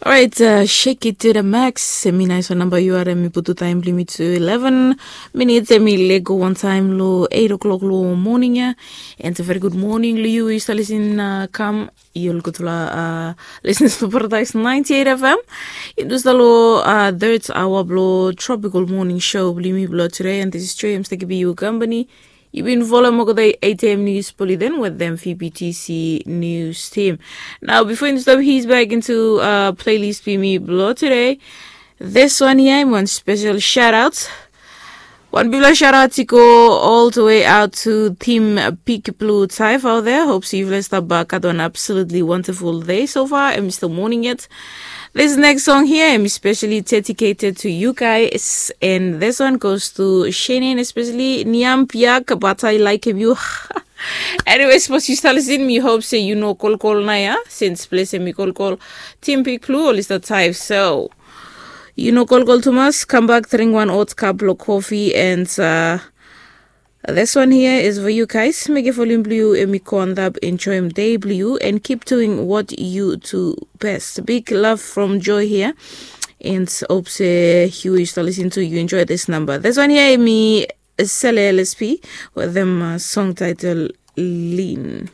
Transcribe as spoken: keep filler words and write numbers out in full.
Orait, shake it to the max. Em i nais wan namba yu harim mi putu taim blong yumi tu eleven minits. Em i lego wantaim long eight o'clock long moning ya. And a very good morning long yu yu stap lisin kam yu ol gutfala listeners blong Paradise ninety eight F M. Yumi tu stap long third hour blong tropical morning show blong yumi blong today, and this is Joy. Em stap givim yu company. Yu bin folem olgeta eight a.m. news bulletin wetem V P T C news team. Nao bifo yumi stap his back into playlist blong yumi blong today, this one ya em wan special shout out. Wan bigfala shout out i go all the way out to Team Big Blue Type out there. Hope se yufala stap gat wan absolutely wonderful day so far. Em i stap moning yet. This next song here, em i specially dedicated to you guys, and this one goes to Shannon, especially Niam Piak, but I like him you. Anyway, sapos yu stap lisin, mi hope se yu no kolkol nao ya, since ples em i kolkol. Team Big Blue oli stap taif, so yu no kolkol tumas, kambak, dring wan hot cup blong kofi, and uh, this one here is for you guys. Mekem volim blong yu em i go antap, enjoem dei blong yu, and keep doing what you do best. Big love from Joy here. And hope se yu yu stap lisin tu, yu enjoy this number. This one here em i Sele L S P wetem uh, song title Lean.